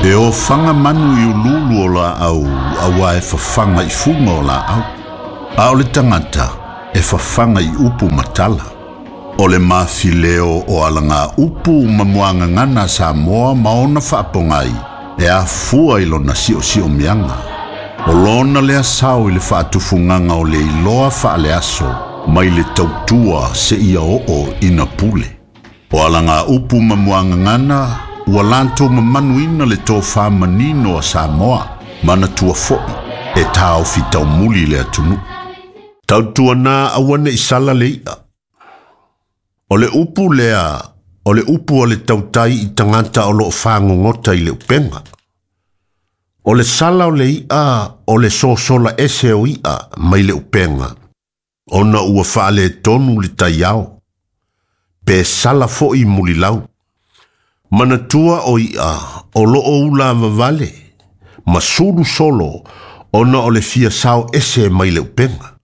E ofaga manu i uluulu o laau auā e fafaga i fuga o laau. A o le tagata e fafaga i upu ma tala. O le mafileo o alagaupu ma muagagana a Samoa ma ona faapogai e afua i lona siosiomiaga. O lona lea sao i le faatufugaga o le iloa faaleaso mai le tautua seia oo ina pule. O alagaupu ma muagagana ua latou mamanuina le tofā manino a Samoa, manatua foi e taofi taumuli le atunuu. Tautuana aua ne i sala le i'a. O le upu lea, o le upu a le tautai i tagata o loo fagogota i le upega. O le sala o le i'a o le sosola ese o i'a mai le upega, ona ua faaletonu le taiao, pe sala foi mulilau. Manatua o i'a o loo ula vavale, ma sulu solo ona o le fia sao ese mai le upega.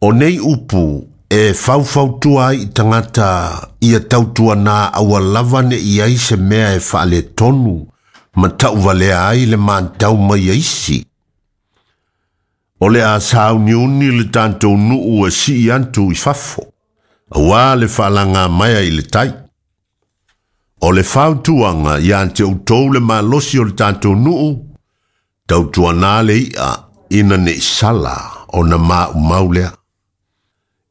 O nei upu e faufautua ai i tagata ia tautuana aua lava ne i ai se mea e faaletonu ma tauvalea ai le matau mai a isi. O le a sauniuni le tatou nuu e sii atu i fafo, auā le faalagamaea i le tai. O le fautuaga ia te outou le malosi o le tatou nuu, tautuana le i'a ina ne i sala ona maumau lea.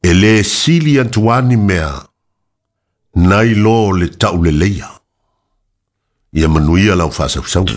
E lē sili atu a ni mea, nai lo le tauleleia. Ia manuia lau faasausauga.